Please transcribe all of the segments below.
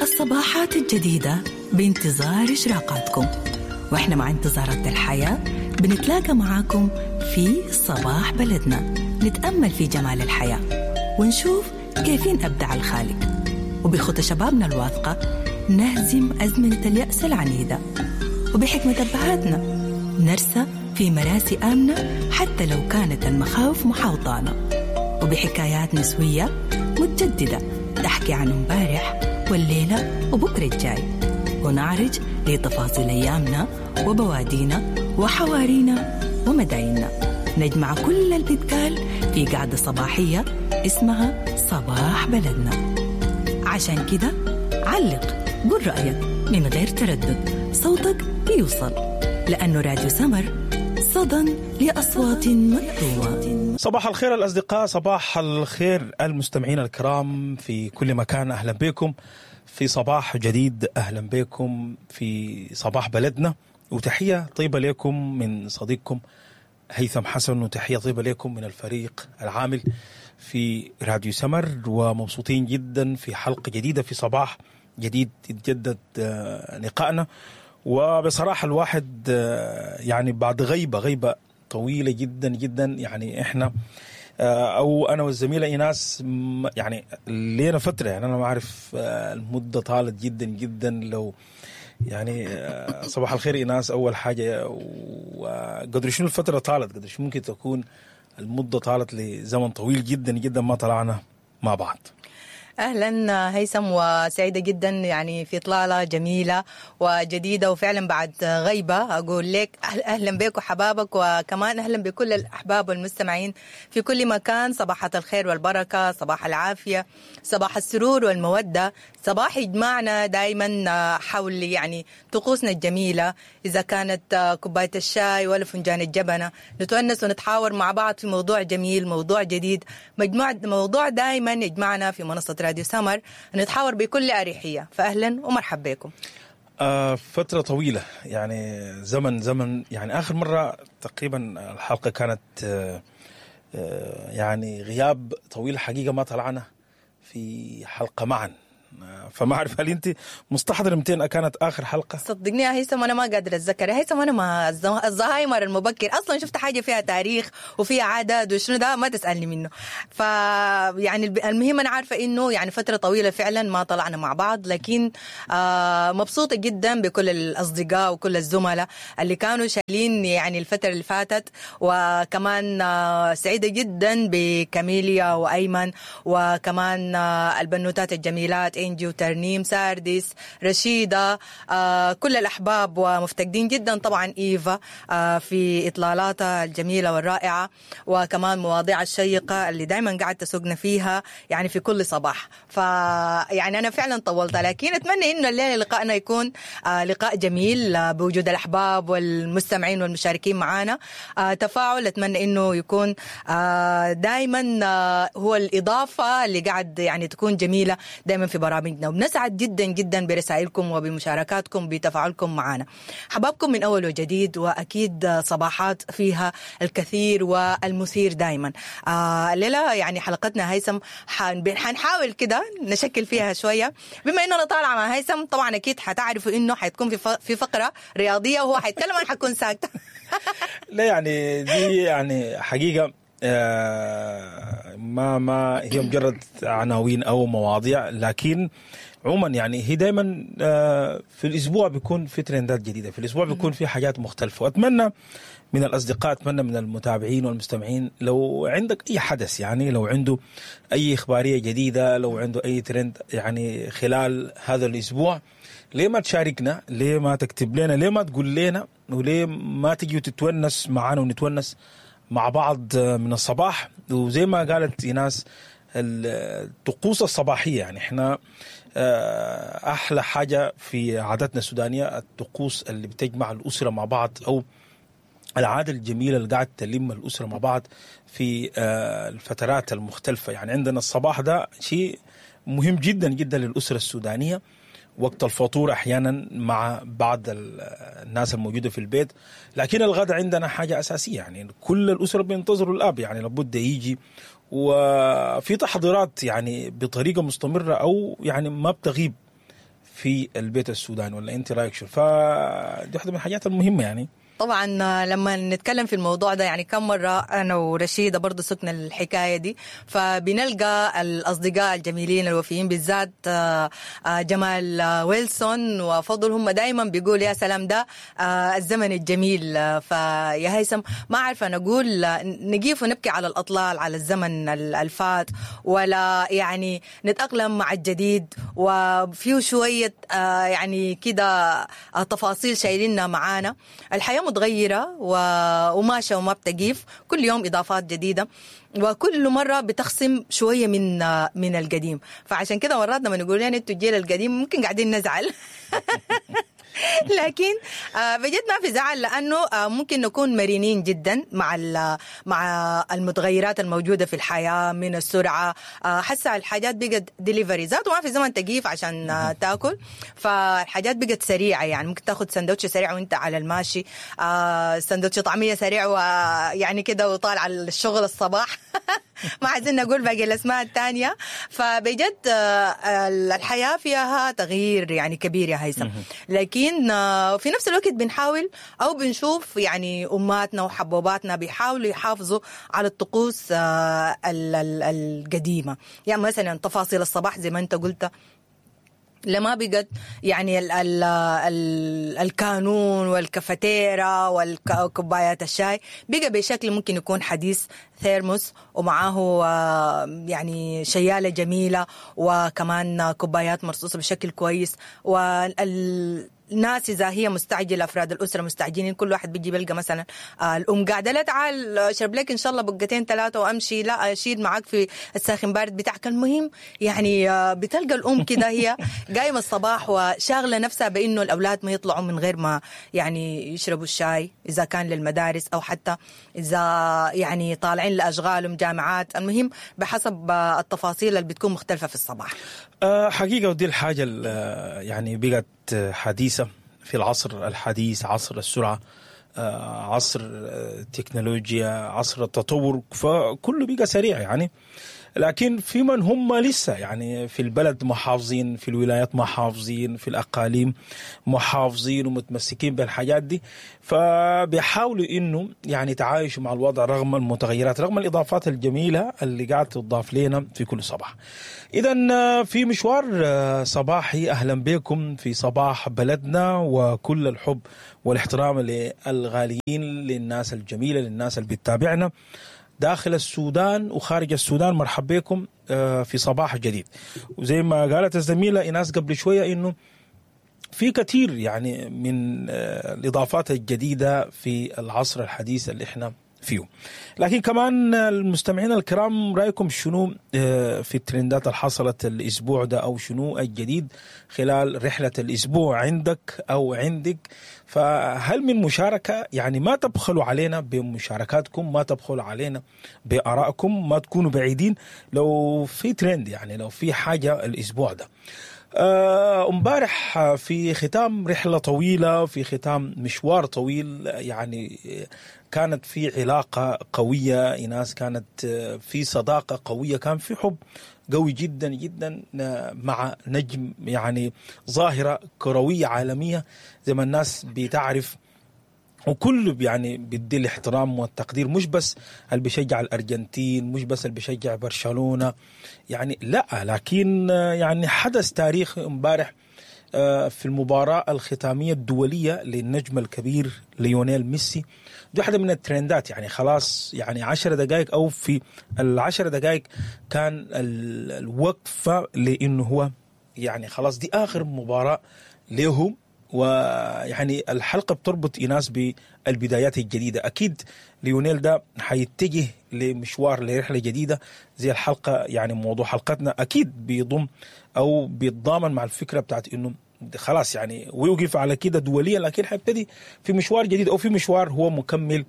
الصباحات الجديدة بانتظار إشراقاتكم، وإحنا مع انتظارات الحياة بنتلاقى معاكم في صباح بلدنا، نتأمل في جمال الحياة ونشوف كيفين أبدع الخالق، وبخطى شبابنا الواثقة نهزم أزمنة اليأس العنيدة، وبحكمة أبهاتنا نرسى في مراسي آمنة حتى لو كانت المخاوف محاوطانا، وبحكايات نسوية متجددة تحكي عن امبارح والليلة وبكرة الجاي، ونعرج لتفاصيل أيامنا وبوادينا وحوارينا ومدايننا. نجمع كل اللي بيتقال في قعدة صباحية اسمها صباح بلدنا. عشان كده علق، قول رأيك من غير تردد، صوتك بيوصل، لأنه راديو سمر صدى لأصوات مكتومة. صباح الخير الأصدقاء، صباح الخير المستمعين الكرام في كل مكان. أهلا بكم في صباح جديد، أهلا بكم في صباح بلدنا، وتحية طيبة لكم من صديقكم هيثم حسن، وتحية طيبة لكم من الفريق العامل في راديو سمر. ومبسوطين جدا في حلقة جديدة في صباح جديد يتجدد لقائنا. وبصراحة الواحد يعني بعد غيبة طويلة جدا جدا، يعني احنا او انا والزميلة ايناس يعني لينا فترة، يعني انا ما اعرف المدة طالت جدا جدا. لو يعني صباح الخير ايناس، اول حاجة، وقدر شنو الفترة طالت، قدر شنو ممكن تكون المدة طالت لزمن طويل جدا جدا ما طلعنا مع بعض. اهلا هيثم، وسعيدة جدا يعني في اطلالة جميلة وجديدة، وفعلا بعد غيبه اقول لك اهلا بك وحبابك، وكمان اهلا بكل الاحباب والمستمعين في كل مكان. صباحات الخير والبركة، صباح العافية، صباح السرور والمودة، صباح يجمعنا دائما حول يعني طقوسنا الجميلة، اذا كانت كوباية الشاي ولا فنجان الجبنة، نتونس ونتحاور مع بعض في موضوع جميل، موضوع جديد، مجموعة موضوع دائما يجمعنا في منصة راديو سمر، نتحاور بكل أريحية. فأهلا ومرحبا بكم. فترة طويلة يعني زمن يعني آخر مرة تقريبا الحلقة كانت يعني غياب طويل حقيقة، ما طلعنا في حلقة معا، فما أعرف هل أنت مستحضر 200 كانت آخر حلقة؟ صدقني يا هيثم أنا ما قادر أتذكر يا هيثم، أنا ما الزهايمر المبكر أصلا شفت حاجة فيها تاريخ وفيها عدد وشنو ده ما تسألني منه. ف يعني المهم أنا عارفة إنه يعني فترة طويلة فعلا ما طلعنا مع بعض، لكن مبسوطة جدا بكل الأصدقاء وكل الزملاء اللي كانوا شايلين يعني الفترة اللي فاتت، وكمان سعيدة جدا بكاميليا وأيمن، وكمان البنوتات الجميلات إنجي وترنيم، ساردس، رشيدة، كل الأحباب، ومفتقدين جدا طبعا إيفا في إطلالاتها الجميلة والرائعة، وكمان مواضيع الشيقة اللي دايما قاعد تسوقنا فيها يعني في كل صباح. فيعني أنا فعلا طولت، لكن أتمنى إنه الليلة لقائنا يكون لقاء جميل بوجود الأحباب والمستمعين والمشاركين معنا. تفاعل أتمنى إنه يكون دايما هو الإضافة اللي قاعد يعني تكون جميلة دايما في برامجنا، وبنسعد جدا جدا برسائلكم وبمشاركاتكم بتفاعلكم معنا. حبابكم من أول وجديد، وأكيد صباحات فيها الكثير والمثير دايما. الليلة يعني حلقتنا هيثم حنحاول كده نشكل فيها شوية، بما إنه أنا طالعة مع هيثم طبعا أكيد حتعرفوا إنه حتكون في فقرة رياضية وهو حيتكلم، أنا حكون ساكتة. لا يعني دي يعني حقيقة ما هي مجرد عناوين أو مواضيع، لكن عموما يعني هي دايما في الأسبوع بيكون في ترندات جديدة، في الأسبوع بيكون في حاجات مختلفة. وأتمنى من الأصدقاء، أتمنى من المتابعين والمستمعين، لو عندك أي حدث، يعني لو عنده أي إخبارية جديدة، لو عنده أي ترند يعني خلال هذا الأسبوع، ليه ما تشاركنا؟ ليه ما تكتب لنا؟ ليه ما تقول لنا؟ وليه ما تجي وتتونس معنا ونتونس مع بعض من الصباح؟ وزي ما قالت إيناس، الطقوس الصباحية، يعني احنا أحلى حاجة في عاداتنا السودانية الطقوس اللي بتجمع الأسرة مع بعض، أو العادة الجميلة اللي قاعد تلم الأسرة مع بعض في الفترات المختلفة. يعني عندنا الصباح ده شيء مهم جدا جدا للأسرة السودانية، وقت الفطور أحيانا مع بعض الناس الموجودة في البيت، لكن الغداء عندنا حاجة أساسية، يعني كل الأسرة بينتظروا الأب، يعني لابد يجي، وفي تحضيرات يعني بطريقة مستمرة أو يعني ما بتغيب في البيت السوداني. ولا انت رايك شو؟ فدي واحدة من الحاجات المهمة يعني. طبعا لما نتكلم في الموضوع ده يعني كم مرة أنا ورشيدة برضو سكنا الحكاية دي، فبنلقى الأصدقاء الجميلين الوفيين بالذات جمال ويلسون وفضل، هم دايما بيقول يا سلام ده الزمن الجميل. فيا هيثم ما عارفة نقول نقيف ونبكي على الأطلال على الزمن الفات، ولا يعني نتأقلم مع الجديد وفيه شوية يعني كده تفاصيل شايلينها معانا. الحياة متغيرة وماشية وما بتقيف، كل يوم إضافات جديدة وكل مرة بتخصم شوية من القديم. فعشان كده مرات لما نقول يعني انتوا الجيل القديم ممكن قاعدين نزعل لكن بجد ما في زعل، لأنه ممكن نكون مرنين جدا مع المتغيرات الموجودة في الحياة من السرعة. حسا الحاجات بقت ديليفري ذاته، ما في زمن تقيف عشان تاكل، فالحاجات بقت سريعة. يعني ممكن تاخذ سندوتش سريع وانت على الماشي، سندوتش طعمية سريع ويعني كده وطالع على الشغل الصباح ما عايزين نقول باقي الأسماء الثانية. فبجد الحياة فيها تغيير يعني كبير يا هيثم، لكن في نفس الوقت بنحاول أو بنشوف يعني أماتنا وحبوباتنا بيحاولوا يحافظوا على الطقوس القديمة. يعني مثلا تفاصيل الصباح زي ما أنت قلت، لما بقت يعني ال ال ال الكانون والكافيتيرا والكوبايات الشاي بقى بشكل ممكن يكون حديث، ثيرموس ومعاه يعني شيالة جميلة وكمان كوبايات مرصوصة بشكل كويس. والناس إذا هي مستعجلة، أفراد الأسرة مستعجلين، كل واحد بيجي بيلقى مثلا الأم قاعدة، لا تعال اشرب لك إن شاء الله بقتين ثلاثة وأمشي، لا أشيل معاك في الساخن بارد بتاعك. المهم يعني بتلقى الأم كده هي قايمة الصباح وشاغلة نفسها بإنه الأولاد ما يطلعوا من غير ما يعني يشربوا الشاي، إذا كان للمدارس أو حتى إذا يعني طالعين لأشغالهم جامعات. المهم بحسب التفاصيل اللي بتكون مختلفة في الصباح. حقيقة ودي الحاجة يعني بقت حديثة في العصر الحديث، عصر السرعة، عصر التكنولوجيا، عصر التطور، فكله بقى سريع يعني. لكن في من هم لسه يعني في البلد محافظين، في الولايات محافظين، في الأقاليم محافظين ومتمسكين بالحاجات دي، فبيحاولوا إنه يعني تعايشوا مع الوضع رغم المتغيرات، رغم الإضافات الجميلة اللي قاعدة تضاف لنا في كل صباح. إذا في مشوار صباحي، أهلا بكم في صباح بلدنا، وكل الحب والاحترام للغاليين، للناس الجميلة، للناس اللي بتتابعنا داخل السودان وخارج السودان. مرحبا بكم في صباح جديد. وزي ما قالت الزميلة إيناس قبل شوية إنه في كثير يعني من الإضافات الجديدة في العصر الحديث اللي احنا فيه. لكن كمان المستمعين الكرام، رأيكم شنو في الترندات اللي حصلت الأسبوع ده، أو شنو الجديد خلال رحلة الأسبوع عندك أو عندك؟ فهل من مشاركة؟ يعني ما تبخلوا علينا بمشاركاتكم، ما تبخلوا علينا بآرائكم، ما تكونوا بعيدين لو في ترند، يعني لو في حاجة الأسبوع ده. امبارح في ختام رحلة طويلة، في ختام مشوار طويل، يعني كانت في علاقة قوية إيناس، كانت في صداقة قوية، كان في حب قوي جدا جدا مع نجم يعني ظاهرة كروية عالمية زي ما الناس بتعرف، وكله يعني بيدي الاحترام والتقدير، مش بس اللي بيشجع الأرجنتين، مش بس اللي بيشجع برشلونة يعني، لا، لكن يعني حدث تاريخي امبارح في المباراة الختامية الدولية للنجم الكبير ليونيل ميسي. دي واحدة من الترندات يعني، خلاص يعني 10 دقائق أو في 10 دقائق كان الوقفة، لأنه هو يعني خلاص دي آخر مباراة له. ويعني الحلقة بتربط إيناس بالبدايات الجديدة. أكيد ليونيل ده حيتجه لمشوار، لرحلة جديدة زي الحلقة، يعني موضوع حلقتنا أكيد بيضم أو بيتضامن مع الفكرة بتاعت إنه خلاص يعني ويوقف على كده دوليا، لكن حيبتدي في مشوار جديد أو في مشوار هو مكمل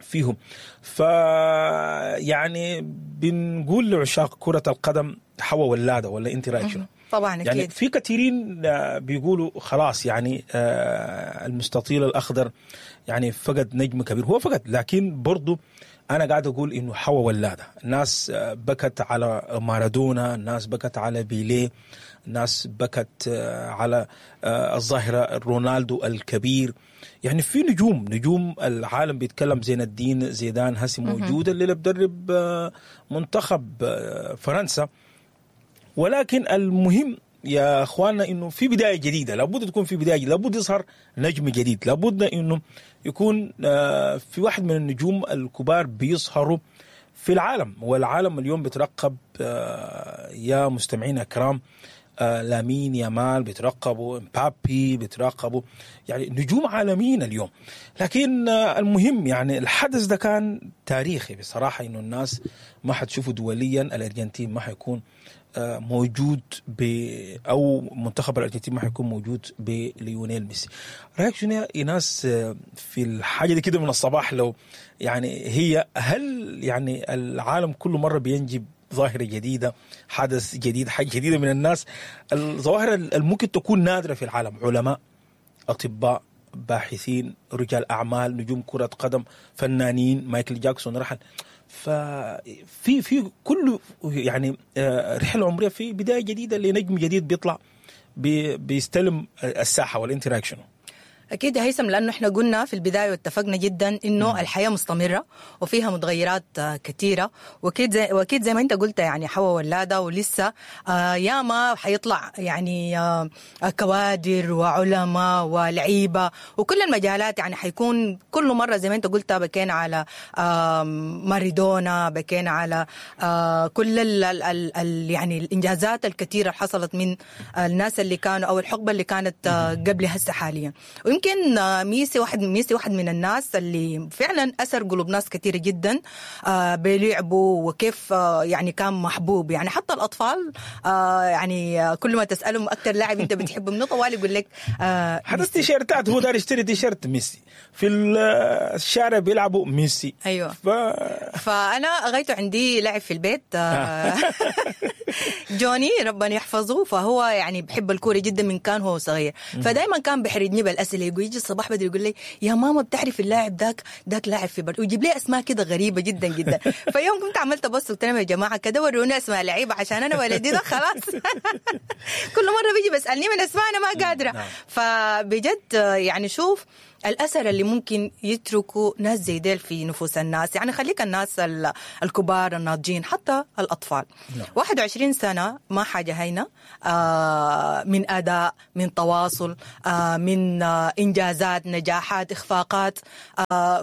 فيهم. فيعني بنقول لعشاق كرة القدم حوا ولاده، ولا انت رايك شنو؟ طبعا اكيد. يعني في كثيرين بيقولوا خلاص يعني المستطيل الاخضر يعني فقد نجم كبير، هو فقد، لكن برضو انا قاعد اقول انه حوا ولاده. الناس بكت على مارادونا، الناس بكت على بيليه، الناس بكت على الظاهرة رونالدو الكبير. يعني في نجوم العالم بيتكلم، زين الدين زيدان هسي موجود اللي بدرب منتخب فرنسا. ولكن المهم يا اخواننا انه في بداية جديدة، لابد تكون في بداية جديدة، لابد يظهر نجم جديد، لابد انه يكون في واحد من النجوم الكبار بيظهروا في العالم. والعالم اليوم بيترقب يا مستمعينا الكرام، لامين يامال بيترقبوا، مبابي بيترقبوا، يعني نجوم عالميين اليوم. لكن المهم يعني الحدث ده كان تاريخي بصراحة، انه الناس ما حتشوفه دوليا. الارجنتين ما حيكون موجود او منتخب الارجنتين ما حيكون موجود بليونيل ميسي. رايك شنو يا ايناس في الحاجة دي كده من الصباح؟ لو يعني هي هل يعني العالم كل مرة بينجب ظاهره جديدة، حدث جديد، حاجة جديدة من الناس، الظواهر اللي ممكن تكون نادرة في العالم، علماء، اطباء، باحثين، رجال اعمال، نجوم كره قدم، فنانين، مايكل جاكسون رحل. ففي في كل يعني رحله عمرية في بداية جديدة لنجم جديد بيطلع بيستلم الساحة. والانت رايك شنو؟ أكيد يا هيثم، لأنه إحنا قلنا في البداية واتفقنا جدا إنه الحياة مستمرة وفيها متغيرات كثيرة، وأكيد زي ما أنت قلت يعني حوا ولادة، ولسه ياما حيطلع يعني كوادر وعلماء ولعيبة وكل المجالات. يعني حيكون كل مرة زي ما أنت قلت بكينا على مارادونا، بكينا على كل ال يعني الإنجازات الكثيرة اللي حصلت من الناس اللي كانوا أو الحقبة اللي كانت قبل هسه حاليا. ويمكن ميسي واحد من الناس اللي فعلا أثر قلوب ناس كثيرة جدا بلعبه، وكيف يعني كان محبوب. يعني حتى الأطفال يعني كل ما تسألهم أكثر لاعب أنت بتحبه منه طوال يقول لك حتى التيشيرتات، هو دار يشتري تيشيرت ميسي في الشارع بيلعبوا ميسي. أيوة. فأنا غايته عندي لاعب في البيت جوني ربنا يحفظه، فهو يعني بحب الكورة جدا من كان هو صغير، فدايما كان بحرجني بالأسئلة. يقول يجي الصباح بدري يقول لي يا ماما بتعرف اللاعب داك لاعب في برد، ويجيب لي اسماء كده غريبة جدا جدا. فيوم كنت عملت بص قلت لهم يا جماعة كده وروني اسماء لعيبة عشان انا ولدي ده خلاص كل مرة بيجي بسالني من اسماء انا ما قادرة. فبجد يعني شوف الأثر اللي ممكن يتركوا ناس زي ديل في نفوس الناس. يعني خليك الناس الكبار الناضجين، حتى الأطفال. 21 سنة ما حاجة هينة، من أداء، من تواصل، من إنجازات، نجاحات، إخفاقات،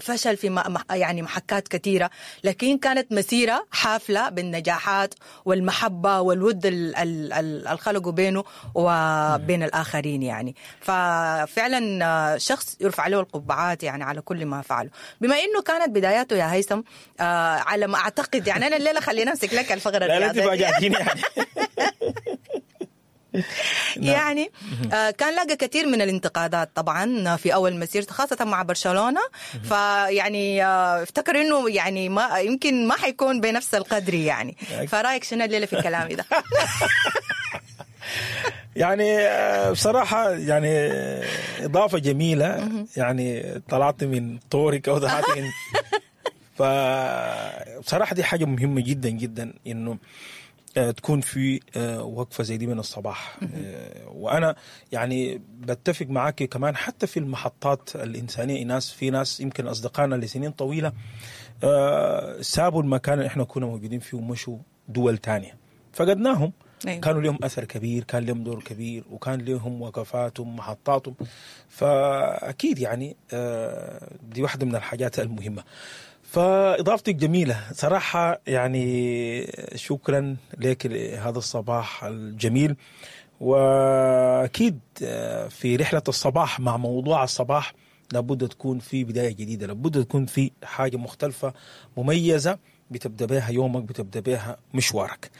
فشل في يعني محكات كثيرة، لكن كانت مسيرة حافلة بالنجاحات والمحبة والود الخلقوا بينه وبين الآخرين. يعني ففعلا شخص يرفع له القبعات يعني على كل ما فعله. بما انه كانت بداياته يا هيثم على ما اعتقد، يعني انا الليلة خلينا امسك لك الفقرة الرياضية. لا تفاجئتيني يعني. يعني كان لاقى كثير من الانتقادات طبعا في اول مسيرته خاصة مع برشلونة، فيعني افتكر انه يعني ما يمكن ما حيكون بنفس القدر يعني. فرايك شنو الليلة في كلامي ده؟ يعني بصراحة يعني إضافة جميلة، يعني طلعت من طورك أو طلعت من فبصراحة دي حاجة مهمة جدا جدا إنه تكون في وقفة زي دي من الصباح. وأنا يعني بتفق معاك كمان حتى في المحطات الإنسانية، ناس في ناس يمكن أصدقائنا لسنين طويلة سابوا المكان اللي إحنا كنا موجودين فيه ومشوا دول تانية، فقدناهم. أيوة. كانوا لهم أثر كبير، كان لهم دور كبير، وكان لهم وقفاتهم محطاتهم. فأكيد يعني دي واحدة من الحاجات المهمة. فإضافتك جميلة صراحة، يعني شكرا لك هذا الصباح الجميل. وأكيد في رحلة الصباح مع موضوع الصباح لابد تكون في بداية جديدة، لابد تكون في حاجة مختلفة مميزة بتبدا بها يومك، بتبدا بها مشوارك.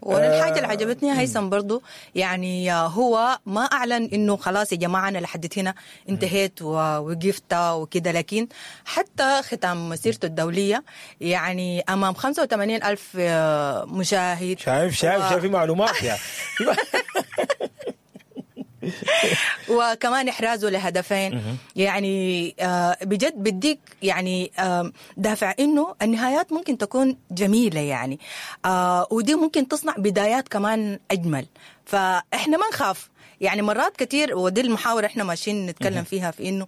وانا الحاجة اللي عجبتني هيثم برضو، يعني هو ما اعلن انه خلاص يا جماعة انا لحد هنا انتهيت ووقفت وكده، لكن حتى ختام مسيرته الدولية يعني امام 85 الف مشاهد. شايف شايف شايف في معلومات يعني. وكمان احرازه لهدفين، يعني بجد بديك يعني دافع انه النهايات ممكن تكون جميلة يعني، ودي ممكن تصنع بدايات كمان اجمل. فاحنا ما نخاف يعني مرات كتير، ودي المحاوره احنا ماشيين نتكلم فيها، في انه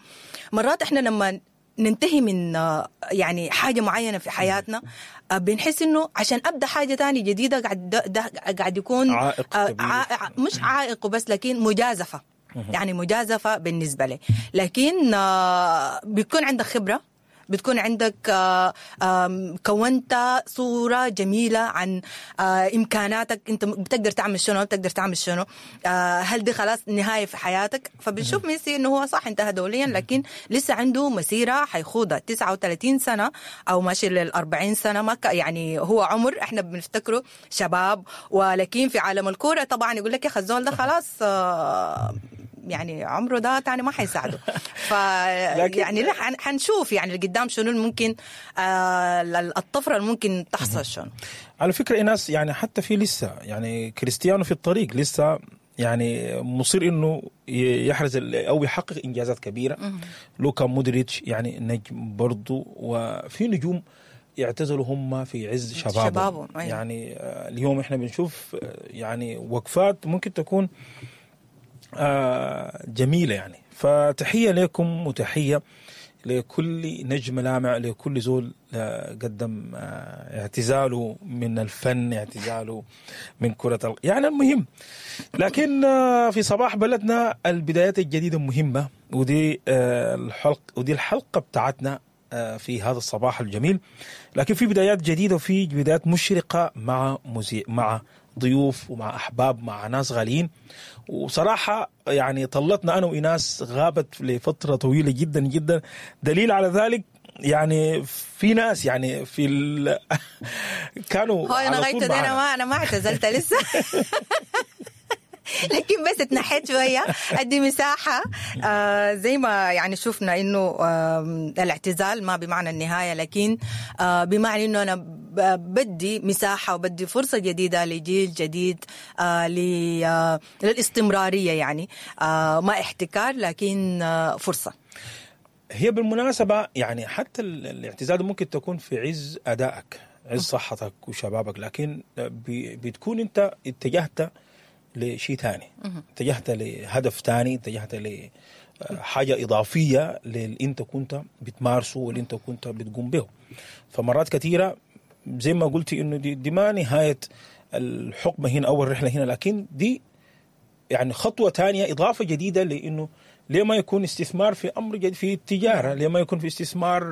مرات احنا لما ننتهي من يعني حاجة معينة في حياتنا بنحس انه عشان ابدا حاجة تانية جديدة قاعد ده قاعد يكون عائق كبير. مش عائق وبس، لكن مجازفة، يعني مجازفة بالنسبة لي. لكن بيكون عندك خبره، بتكون عندك كونت صورة جميلة عن إمكاناتك، أنت بتقدر تعمل شنو، بتقدر تعمل شنو، هل دي خلاص نهاية في حياتك؟ فبنشوف ميسي إنه هو صح انتهى دوليا، لكن لسه عنده مسيرة حيخوضها 39 سنة أو ماشي لل40 سنة، ما يعني هو عمر إحنا بنفتكره شباب، ولكن في عالم الكورة طبعا يقول لك يا أخي الزول ده خلاص يعني عمره ده تاني ما حيساعده. ف يعني لا حنشوف يعني اللي قدام شنو ممكن، الطفرة اللي ممكن تحصل شنو. على فكرة ايناس، يعني حتى في لسه يعني كريستيانو في الطريق لسه يعني مصير انه يحرز او يحقق انجازات كبيرة. لوكا مودريتش يعني نجم برضو، وفي نجوم يعتزلوا هم في عز شبابهم. أيوة. يعني اليوم احنا بنشوف يعني وقفات ممكن تكون جميلة يعني. فتحية لكم وتحية لكل نجم لامع، لكل زول قدم اعتزاله من الفن، اعتزاله من كرة يعني المهم. لكن في صباح بلدنا البدايات الجديدة مهمة، ودي الحلقة، ودي الحلقة بتاعتنا في هذا الصباح الجميل. لكن في بدايات جديدة وفي بدايات مشرقة مع مع ضيوف ومع أحباب، مع ناس غاليين. وصراحة يعني طلتنا أنا وإناس غابت لفترة طويلة جدا جدا. دليل على ذلك يعني في ناس يعني في كانوا هو أنا غايت، أنا ما اعتزلت لسه لكن بس اتنحيت شوية أدي مساحة. زي ما يعني شفنا إنه الاعتزال ما بمعنى النهاية، لكن بمعنى إنه أنا بدي مساحة وبدي فرصة جديدة لجيل جديد، للاستمرارية يعني، ما احتكار لكن فرصة. هي بالمناسبة يعني حتى الاعتزال ممكن تكون في عز أدائك، عز صحتك وشبابك، لكن بتكون أنت اتجهت لشيء ثاني، اتجهت لهدف ثاني، اتجهت لحاجة إضافية للي أنت كنت بتمارسه واللي أنت كنت بتقوم به. فمرات كثيرة زي ما قلتي إنه دي ما نهاية الحقبة هنا أو الرحلة هنا، لكن دي يعني خطوة ثانية، إضافة جديدة، لأنه ليه ما يكون استثمار في أمر جديد في التجارة، ليه ما يكون في استثمار